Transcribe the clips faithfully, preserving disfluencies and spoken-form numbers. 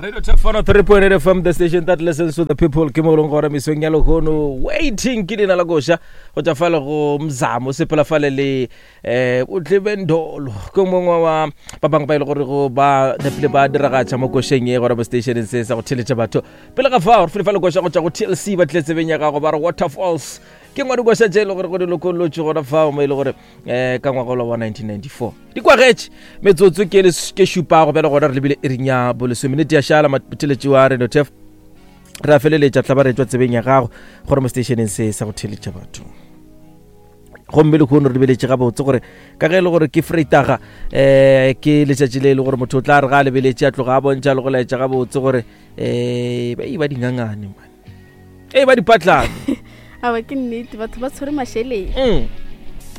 Radio Turf one oh three point eight F M, the station that listens to the people. Ke mo leng gore mesong ya lehono waiting ke leina la koša go tšwa fale go Mzamo sepela fale le eh o Tlebendolo ke mongwe wa ba bangwe ba e le gore go ba nepile ba diragatša mo košeng ye gore mo stationeng se sa go theletša batho pele ga fao re file fale koša go tšwa go T L C ba tlile tsebeng ya gago ba re Waterfalls ke ngwa dikoša tše e le gore go di lokollotše gona fao mo e le gore um ka ngwaga wa nineteen ninety-four di kwagetše metsotso ke ke šupago bjale gona re lebile iring ya bolesome minute ya šala motheletši wa Radio Turf re a feleletša tla ba re tšwa tsebeng ya gago gore mo stationeng se sa go theletša batho gomme lehono re lebeletše gabotse gore ka ge e le gore ke Vrydag um ke letšatši le e le gore motho o tla re ga a lebeletše a tloga a bontšha le go laetša gabotse gore um ba e ba dingangane man e ba dipatlane awa ke nnete batho ba tshwere mašeleng mm.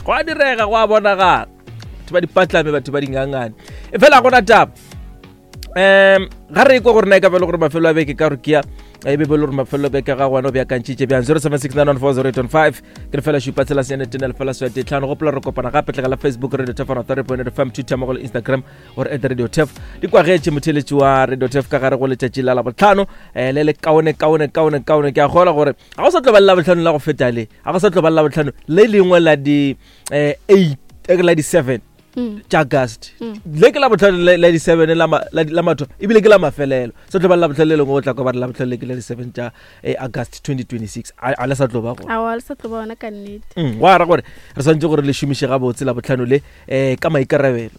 Go a direga go a bonagala batho ba dipatlame batho ba dingangane e fela gona taba um ga re ikwa gore na e ka ba le gore mafelo a beke ka gore kea e be be le gore mafelo a beke ga gona o beakantšhitše bjang zero seven six nine one four zero eight one five ke re fela šupa tshela senyane tene lefela swete tlhano gopola re kopana gape tlogela Facebook Radio Turf one oh three point eight F M Twitter mmogo le Instagram gore at Radio Turf di kwagetše motheletši wa Radio Turf ka gare go letšatši la Labohlano um le le kaone kaone kaone kaone ke a kgolwa gore ga go sa tlo ba le Labohlano la go feta le ga go sa tlo ba le Labohlano le lengwe la di um eight la di seven tša August le ke la bohlano la di seven la la matho ebile ke la mafelelo sa tlo ba la bohlano le lengwe o tla kwa ba re la bohlano le ke la di seven tša August twenty twenty-six a le sa tlo ba gona awa le sa tlo ba gona ka nnete go ara gore re swantse gore le šomiše gabotse la bohlano le um ka maikarabelo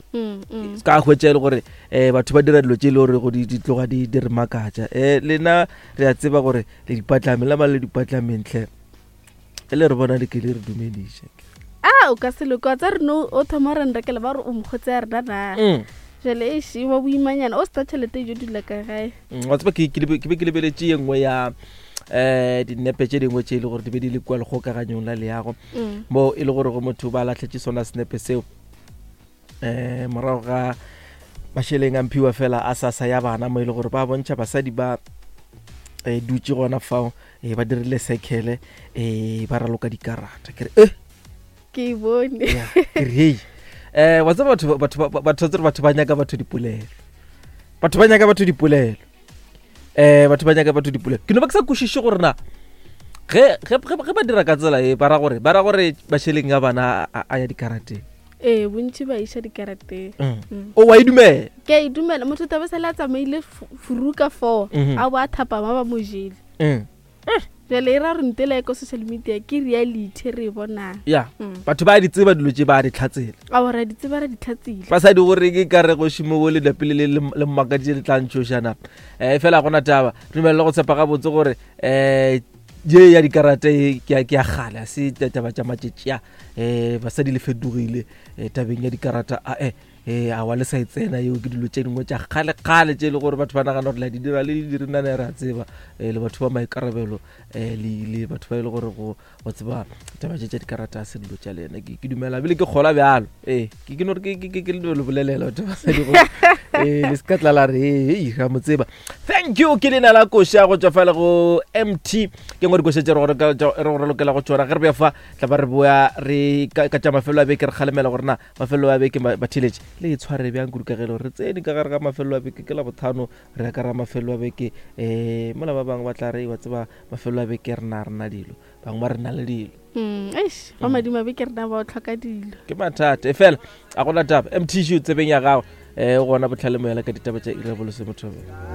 ka hwetša e le gore um batho ba dira dilo tše e le gore go di tloga di di re makatša um lena re a tseba gore le dipatlame la ba le dipatlameng tlhe e le re bona le ke le re dumediše ah o ka se loka tsa re no o thoma re nrekele ba re o mokgotse ya rena na jale e še wa boimanyana o seta tšhelete e jo dula ka gae wa tseba ke be ke lebeletše ye nngwe ya um dinepe tše dingwe tše e le gore di be di le kua lekgokaganyong la leago mo e le gore go motho ba lahletše sona senepe seo um morago ga mašeleng a mphiwa fela a sasa ya bana mo e le gore ba bontšha basadi ba um dutše gona fao um ba dirile circle um ba raloka dikarata ke re eh ke bone ke re hei eh wa tseba batho batho batho batho ba nyaka batho dipolelo batho ba nyaka batho dipolelo eh batho ba nyaka batho dipolelo ke no ba ke sa kwešiše gore na ge ge ge ba dira ka tsela e ba ra gore ba ra gore mašeleng a bana a ya dikarateng ee bontši ba iša dikarateng o wa e dumela ke a e dumela motho tabe sele a tsamaile furuka four a bo a thapama ba mo jele jale e ra re ntela e ko social media ke reality re e bonang ya batho ba di tseba dilo tše ba di tlhatsela ao ra di tseba ra di tlhatsile ba sa di gore ke ka re go šimo bo le lapile le le mmakaditše le tla ntšhošana um fela gona taba dumelele go tshepa gabotse gore um ye ya dikarata e ke ya kgale a se taba tša matšatši a um basadi le fetogile tabeng ya dikarata a e a wa le sa e tsena yeo ke dilo tše dingwe tša kgale-kgale tše e le gore batho ba nagana gore la di dira le di direnane re a tseba um le batho ba maikarabelo um le batho ba e le gore go go tseba taba tše tša dikarata a se dilo tša lena ke dumela ebile ke kgola bjalo ee ke ke no re ke ke le le bolelela batho ba sadi gore ee le se ka tla la re ee ga mo tseba thank you ke lena la koša go tšwa fale go M T ke ngwe dikoša tše re go lokela go tšona ge re beya fa tla ba re boya re ka tša mafelo a beke re kgalemela gore na mafelo a beke batheletše le e tshware bjang kudu ka ge e le gore re tsene ka gare ga mafelo a beke ke la bothano re ya ka ra mafelo a beke um mola ba bangwe ba tla re wa tseba mafelo a beke re na rena dilo bangwe ba re na le dilo eish ba madimo a beke rena ba o tlhoka dilo ke mathata e fela a gona taba M T G tsebeng ya gago um gona botlhale moela ka ditaba tša iri ya bolesome thobela.